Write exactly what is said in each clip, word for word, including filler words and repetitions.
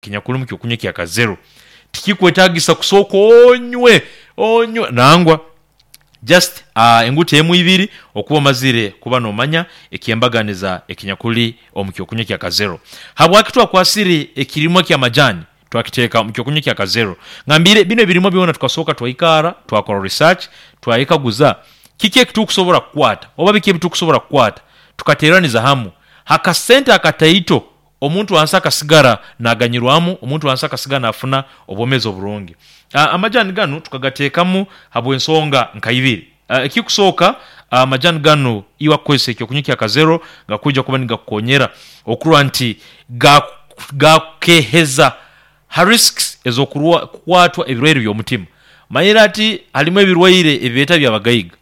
Ekinyakuli omu kyokunywa ekya kazero tikikwetagisa kusooka onywe onywe nangwa just enguta emwei ibiri okuba omazire kuba nomanya ekyembaganiza ekinyakuli omu kyokunywa ekya kazero. Habwaki twakwasire ekirimwa eky'amajaani twakiteeka omu kyokunywa ekya kazero? Ngambire bini ebirimwa byona tukasooka twaikaara twakora research twayekaguza kiki ekitukusobola kukwata oba biki ebitukusobola kukwata tukateeraniza hamu akasente akataito omuntu owansi akasigara naaganyirwamu, omuntu owansi akasigara naafuna obwomeezi oburungi. Amajaani ganu tukagateekamu habw'ensonga nka ibiri. Ekikusooka, amajaani ganu iwe akukozesa ekyokunywa ekya kazero gakwija kuba nigakukoonyera okurora nti gakukeeheza ha risks ez'okukwatwa ebirwaire by'omutima. Omanyire ati halimu ebirwaire ebibeeta eby'abagaiga.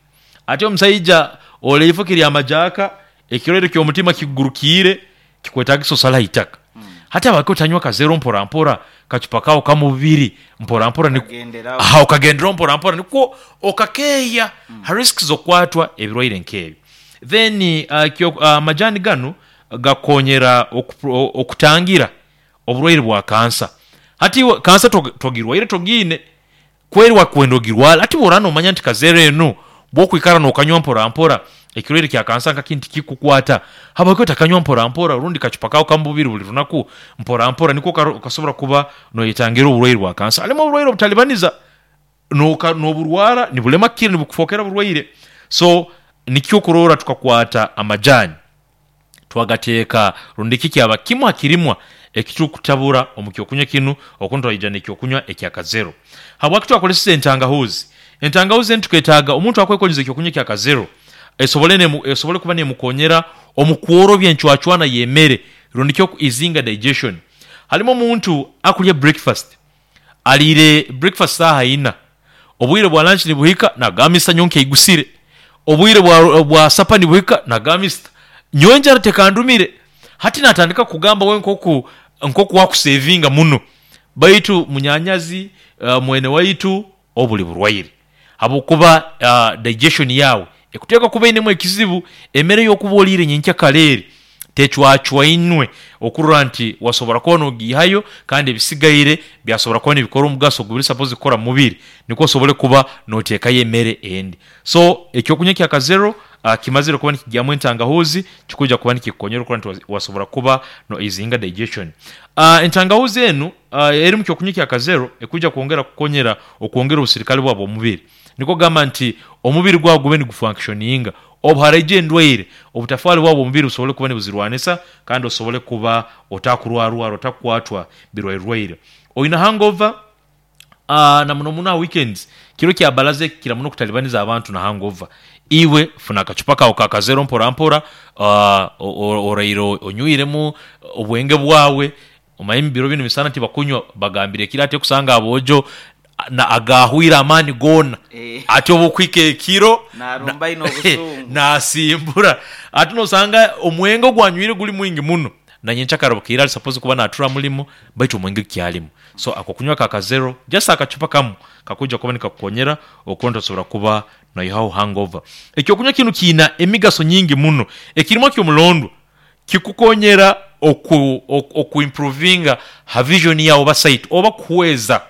Ati omusaija ole eifuki lya majaaka, ekirwaire ky'omutima kikugurukiire kikwetagisa osale aha itaka. Hati habwaki otanywa kazero mpora mpora, kacupa kaawe kamwe bubiri mpora mpora Okagenderaho. aha okagenderaho mpora mpora nikwo okakeeya ha risks z'okukwatwa ebirwaire nk'ebyo. Then amajaani ganu gakukonyera okutangira oburwaire bwa kansa. Hati iwe kansa togirwaire togiine, kweri wakwenda ogirwale, hati bw'oraaba noomanya nti kazero enu bw'okwikara nookanywa mpora mpora ekirwaire kya kansa nka kinu tikikukwata, habwaki otakanywa mpora mpora orundi kacupa kaawe kamwe bubiri buli lunaku mpora mpora nikwo okasobora kuba noyetangira oburwaire bwa kansa. Halimu oburwaire obutalibaniza, n'oburwara nibulema kukira nibukufookera burwaire. So nikyo okurora tukakwata amajaani twagateeka rundi ki kyaba kimwe ha kirimwa ekitukutabura omu kyokunywa kinu okuntu twaija n'ekyokunywa ekya kazero. Habwaki twakoleseize entangahuuzi? Entangahuuzi eni tuketaaga omuntu akwekoleza ekyokunywa ekya kazero esobole esobole kuba neemukonyera omu kworobya encwacwana y'emere rundi ki oku easinga digestion. Halimu omuntu akulya breakfast, aliire breakfast saaha ina, obwire bwa lunch nibuhika naagamba mister nyowe nkeigusire, obwire bwa bwa sapa nibuhika naagamba mister nyowe enjara tekandumire. Hati naatandika kugamba we nk'oku nk'oku akusevinga muno baitu munyanyazi, mwene waitu obu buli burwaire habwokuba digestion yaawe ekuteekwa kuba einemu ekizibu. Emere ey'okuba oliire nyenkyakara eri tecwacwainwe okurora nti wasobora kuba n'ogiihayo kandi ebisigaire byasobora kuba nibikora omugaso ogubiri sapozi kukora omu mubiri nikwo osobole kuba nooteekayo emere endi. So ekyokunywa ekya kazero kimazire kuba nikigyamu entangahuuzi kikwija kuba nikikukonyera okurora nti wasobora kuba no easinga digestion. Entangahuuzi enu eri omu kyokunywa ekya kazero ekwija kwongera kukukonyera okwongera obusirikale bwawe obw'omubiri. Nikwo kugamba nti omubiri gwawe gube nigufunctioninga, obu haraija endwaire, obutafaali bwawe obw'omubiri busobole kuba nibuzirwanisa kandi osobole kuba otakurwararwara, otakukwatwa birwairerwaire. Oine hangover, na muno muno aha weekends, kiro kya bbalaza eki kikira muno okutalibaniza abantu na hangover. Iwe funa akacupa kaawe ka kazero mpora mpora, oraire onywiremu obwenge bwawe, omanyire ebiro binu misana tibakunywa bagambire ekiro ati okusanga aboojo agaahweire amaani goona ati obu okuhika ekiro Naarumba aine obusungu. naasimbura. Ati noosanga omwenge ogu anywire guli mwingi muno na nyenkyakara bukeire ali sapozi kuba naatura mulimo baitu omwenge gukyalimu. So ako kunywa ka kazero just akacupa kamu kakwija kuba nikakukonyera okuba nti osobora kuba noihaho hangover. Ekyokunywa kinu kiina emigaso nyingi muno. Ekirimwa ky'omulondwa kikukonyera oku oku improvinga ha vision yaawe oba sight oba kuhweza.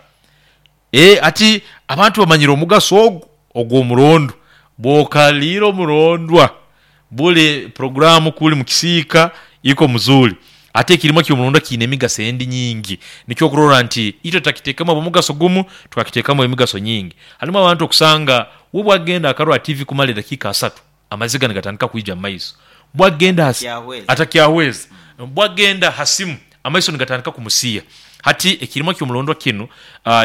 Eeh hati abantu bamanyire omugaso ogu ogw'omurondwa. Bw'okaliire omurondwa, buli puroguraamu kuli mu kisiika iko muzuri. Ate ekirimwa ky'omurondwa kiine emigaso endi nyingi. Nikyo okurora nti itwe tutakiteekemu habw'omugaso gumu, twakiteekamu emigaso nyingi. Halimu abantu okusanga we bwagenda akarora tiivi kumara edakiika asatu, amaziga nigatandika kwija mu maiso. Bwagenda Atakyahweza. Atakyahweza. Bwagenda ha simu, amaiso nigatandika kumusiiya. Hati ekirimwa ky'omulondwa kinu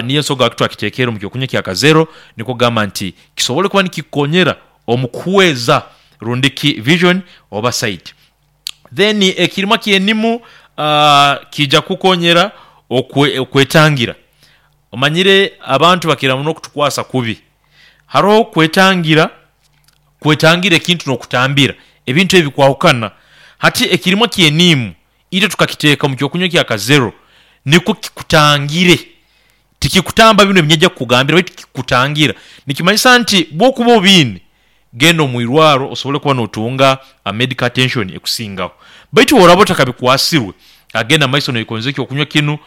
niyo ensonga lwaki twakiteekere omu kyokunywa ekya kazero, nikwo kugamba nti kisobole kuba nikikukonyera omu kuhweza rundi ki vision oba sight. Then ekirimwa ky'enimu kiija kukukonyera okwetangira. Omanyire abantu bakira muno okutukwasa kubi. Haroho okwetangira, kwetangira ekintu n'okutambira, ebintu ebi bikwahukana. Hati ekirimwa ky'eniimu itwe tukakiteeka omu kyokunywa ekya kazero nikwo kikutangire. Tikikutamba binu ebi nyija kukugambira baitu kikutangira. Nikimanyisa nti bw'okuba obiine, genda omu irwaro osobole kuba nootunga medical attention ekusingaho. Baitu bw'oraaba otakabikwasirwe, Agenda mumaiso noyekondeza ekyokunywa kinu, iwe.